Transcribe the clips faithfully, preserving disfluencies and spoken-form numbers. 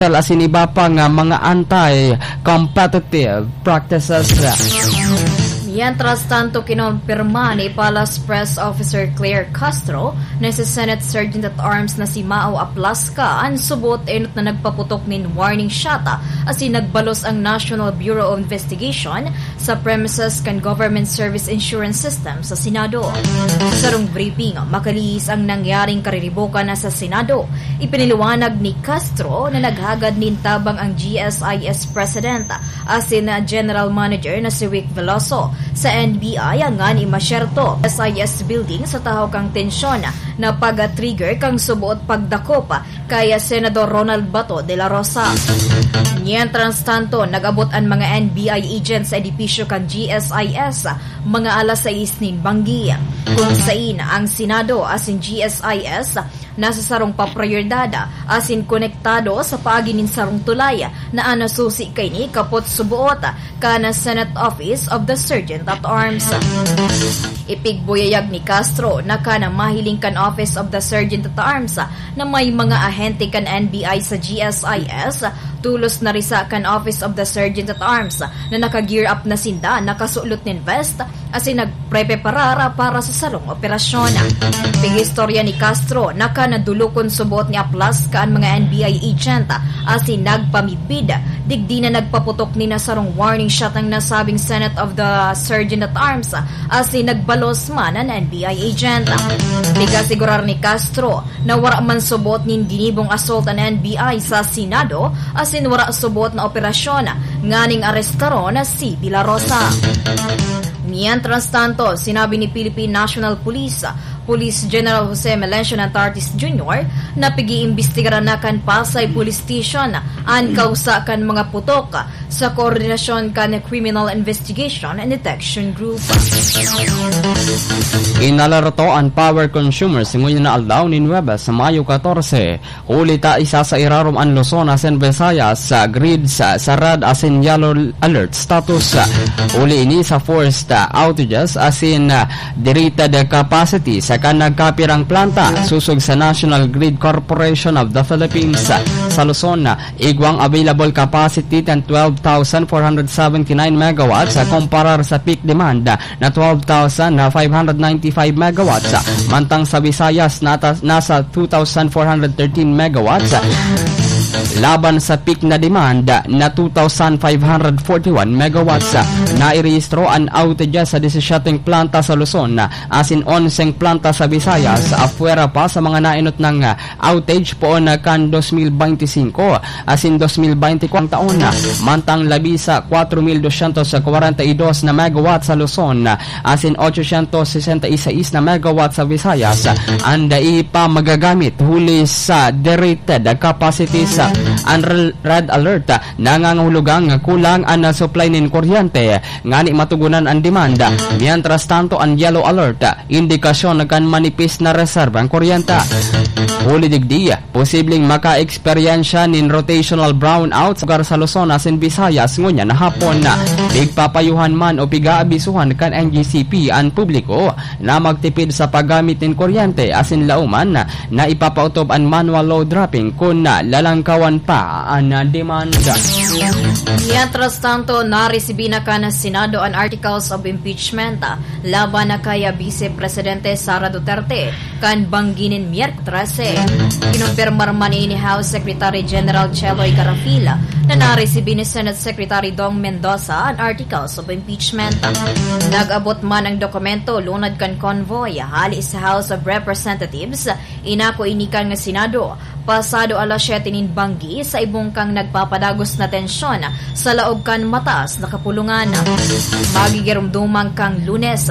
asin iba pa nga mga anti-competitive practices. Mientras tanto, kinompirma ni Palace Press Officer Claire Castro na si Senate Sergeant at Arms na si Mao Aplasca an subot enot na nagpaputok nin warning shot asin nagbalos ang National Bureau of Investigation sa premises kan Government Service Insurance System sa Senado. Sa sarong briefing, makalihis ang nangyaring kariribokan na sa Senado. Ipinaliwanag ni Castro na naghagad nin tabang ang G S I S President asin General Manager na si Wick Veloso sa N B I ngani masyerto S I S building sa tahaw kan tensyon na pag-trigger kan suboot pagdakop kay Senador Ronald Bato de la Rosa. Mientras tanto, nag-abot an mga N B I agents sa edipisyo kan G S I S mga alas sais nin banggi, kung sain ang Senado asin G S I S nasa sarong paprioridad asin konektado sa paagi nin sarong tulay na an nasusi kaini kapot suboot kan Senate Office of the Sergeant at Arms. Ipigbuyayag ni Castro na kan mahiling kan Office of the Sergeant at Arms na may mga ahente kan N B I sa G S I S, tulos na risa kan Office of the Sergeant at Arms na naka-gear up na sinda, nakasulot nin vest, asin nagprepreparar para sa sarong operasyon. Pig-istorya ni Castro na kan nadulukon subot ni Aplasca an mga N B I agent asin nagpamidbid. Digdi na nagpaputok nin sarong warning shot ang nasabing Senate of the Sergeant at Arms asin nagbalos man an N B I agent. Pig-asigurar ni Castro na wara man subot nin ginibong assault an N B I sa Senado asin wara subot na operasyon nganing arestaron si De La Rosa. Mientras tanto, sinabi ni Philippine National Police Police General Jose Melencio Nantartis Junior na pig-iimbestigaran na kan Pasay Police Station an kausa kan mga putok sa koordinasyon kan Criminal Investigation and Detection Group. Inalerto an power consumers ngunyan na aldaw nin Huwebes, Mayo katorse, huli ta isa sa irarom an Luzon asin Visayas sa grids sa red asin yellow alert status. Huli ini sa forced outages asin derated capacity sa kan nagkapirang planta sosog sa National Grid Corporation of the Philippines. Sa Luzon, igwang available capacity kan twelve thousand four hundred seventy-nine megawatts, kumparar sa peak demand na twelve thousand five hundred ninety-five megawatts, mantang sa Visayas nata-, nasa two thousand four hundred thirteen megawatts, laban sa peak na demand na two thousand five hundred forty-one megawatts. Nairehistro an outages sa disesyete planta sa Luzon, asin onseng planta sa Visayas, apwera pa sa mga naenot nang outage poon na kan dos mil beintisinko asin dos mil beintikwatro taon. Mantang labi sa kwatro mil dosyentos kwarenta y dos na megawatt sa Luzon asin ochocientos sesenta y seis na megawatt sa Visayas, an dai pa magagamit huli sa derated capacities. An rel-, red alert nangangahulugang kulang an supply nin kuryente ngani matugunan an demand. Mientras tanto, an yellow alert, indikasyon kan manipis na reserba ang kuryente. Huli digdi, posibleng makaeksperyensya nin rotational brownout sa lugar sa Luzon asin Visayas ngunyan na hapon. Pigpapayuhan man o pig-aabisuhan kan N G C P an publiko na magtipid sa paggamit nin kuryente asin lauman na ipapaotob an manual load dropping kun lalangkawan pa an demand. Mientras tanto, naresibi na kan Senado an articles of impeachment laban na kay Vice Presidente Sara Duterte kan banggi nin Miyerkules trese. Kinumpirmar man ini ni House Secretary General Cheloy Garafil na naresibi ni Senate Secretary Dong Mendoza an articles of impeachment. Nag-abot man ang dokumento lunad kan convoy hali sa House of Representatives, inako ini kan Senado, pasado alas siyete nin banggi sa ibong kan nagpapadagos na tensyon sa laog kan mataas na kapulungan. Magigiromdoman kan Lunes,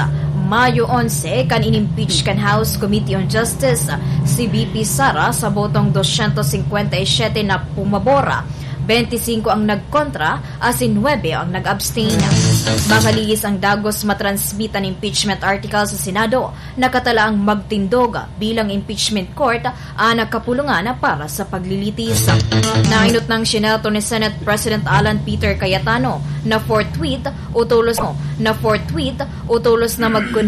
Mayo onse, kan inimpeach kan House Committee on Justice si V P Sara sa botong dosyentos singkwenta y siyete na pumabor, bente singko ang nagkontra, asin nuebe ang nag-abstain. Makalihis ang dagos matransmit an impeachment article sa Senado, nakatalaang magtindog bilang impeachment court an kapulungan para sa paglilitis. Nainot nang sinerto ni Senate President Alan Peter Cayetano na forthwith o tolos na, na forthwith o tolos na magkon-